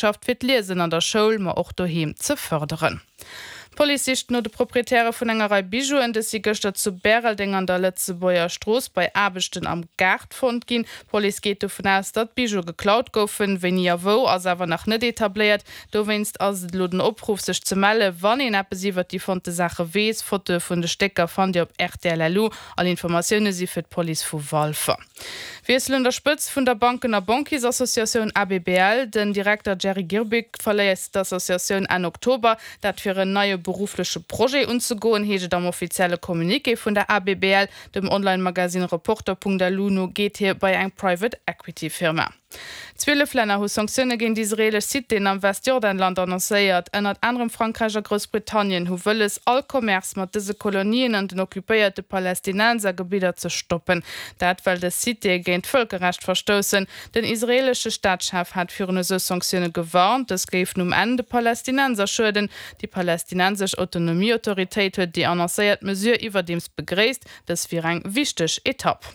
Schafft fir d'Liesen an der Schoul, ma och doheem ze fërderen. D'Police sicht no de Proprietäre vun enger Rei Bijouen. Dës si gëschter zu Bäreldeng an der Lëtzebuerger Strooss bei Aarbechten am Gaart fonnt ginn. D'Police geet dovun aus, datt d'Bijoue geklaut goufen. Wéini a wou ass awer nach net etabléiert. Dowéinst ass et elo den Opruff, sech ze melle wann een eppes iwwert déi fonnte Saache weess. Fotoe vun de Stécker fannt Dir op rtl.lu. All Informatioune si fir d'Police vu Walfer. Wiessel un der Spëtzt vun der Banken a Banquiersassociatioun ABBL. Den Direkter Jerry Girbig verléisst d'Associatioun Enn Oktober. Dat fir en neie beruffleche Projet unzegoen, heescht et am offizielle Communiqué vun der ABBL. Dem Online-Magasinn Reporter.lu no geet hie bei eng Private Equity Firma. 12 Länner hu Sanktioune géint israeelesch Citéen am Westjordanland annoncéiert. Ënnert anerem Frankräich a Groussbritannien hu wëlles, all Commerce mat dëse Kolonien an den occupéierte Palästinensergebidder ze stoppen. Dat well dës Citéë géint d'Vëlkerrecht verstoussen. Den israeelesche Staatschef hat virun esou Sanktioune gewarnt. Dës géifen um Enn de Palästinenser schueden. Déi palästinensesch Autonomieautoritéit huet déi annoncéiert Mesure iwwerdeems begréisst. Dës wier eng wichteg Etapp.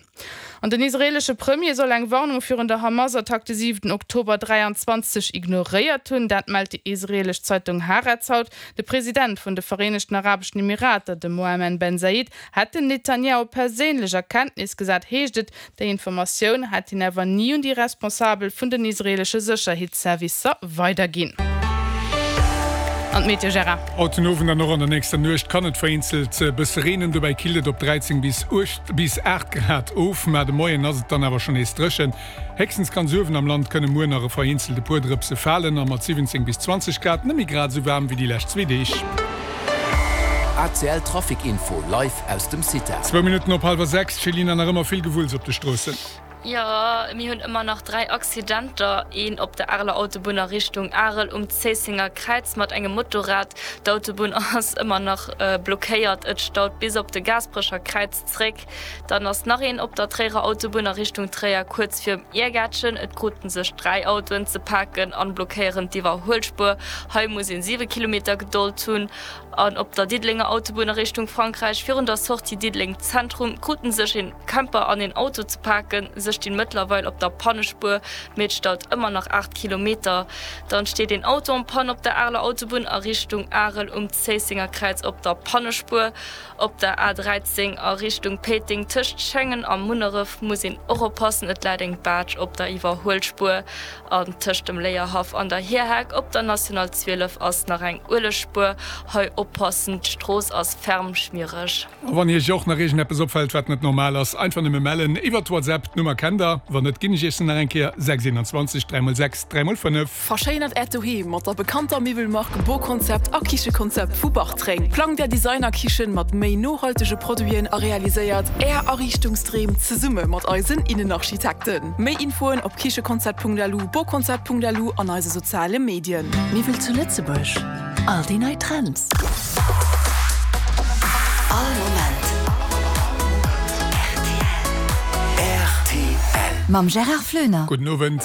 An den israeelesche Premier soll eng Warnung virun der Hamas-Attack de 7 Oktober 23 ignoréiert hunn. Dat mellt déi israeelesch Zeitung Haaretz haut. De President vun de Vereenegten Arabeschen Emirater, de Mohammed Ben Zayed, hätt den Netanjahu perséinlech a Kenntnis gesat, heescht et. Déi Informatioun hätt hien awer ni un déi Responsabel vun den israeelesche Sécherheetsservicer weiderginn. An d'Meteo, Gérard? Haut den Owend an och an der nächster Nuecht kann et vereenzelt e bësse reenen, dobäi killt et op 13 bis bis 8 Grad of. Mä de Moien ass et dann awer schonn nees dréchen. Héchstens ganz uewen am Land kënne muer nach e vereenzelt e puer Drëpse falen a mat 17 bis 20 Grad net méi grad esou waarm wéi déi lescht zwee Deeg. ACL Trafic Info live aus dem CITA. Zwou Minutten op hallwer 6, Céline, nach ëmmer vill Gewulls op de Stroossen. Jo, mir hunn ëmmer nach 3 Accidenter, een op der Areler Autobunn a Richtung Arel um Zéissenger Kräiz mat engem Motorrad. D'Autobunn ass ëmmer nach blockéiert, et staut bis op de Gaasperecher Kräiz zréck. Dann ass nach een op der Tréierer Autobunn a Richtung Tréier kuerz virum Iergäertchen. Et kruten sech 3 Autoen ze paken an blockéieren d'Iwwerhuelspuer. Hei muss een 7 Kilometer Gedold hunn. An op der Diddelenger Autobunn a Richtung Frankräich virun der Sortie Diddeleng Zentrum kruten sech een Camper an een Auto ze paken. Se stinn mëttlerweil op der Pannespuer, mee et staut ëmmer nach 8 Kilometer. Dann steet een Auto en panne op der Areler Autobunn a Richtung Arel um Zéissenger Kräiz op der Pannespuer. Op der A 13 a Richtung Péiteng tëscht Schengen a Munneref muss een och oppassen, et läit eng Baatsch op der Iwwerhuelspuer. An tëscht dem Léierhaff an der Hierheck op der National 12 ass nach eng Uelegspuer. Hei oppassen, d'Strooss ass ferm schmiereg. A wann Iech och nach iergendeppes opfält, wat net normal ass, einfach nëmme mellen iwwert WhatsApp. D'Nummer kennt der, wann net, ginn ech Iech se nach eng Kéier, 6 21 3 x 6 3 x 5. Verschéinert Äert Doheem mat der bekannter Miwwelmark Boconcept a Kichekonzept vu Bartreng. Plangt Är Designer-Kichen mat méi nohaltege Produiten a realiséiert Är Ariichtungsdreem zesumme mat eisen Innenarchitekten. Méi Infoen op kichekonzept.lu, boconcept.lu an eise soziale Medien. Miwwel zu Lëtzebuerg, all déi nei Trends. All Moment rtl. Mam Gérard Floener. Gudden Owend.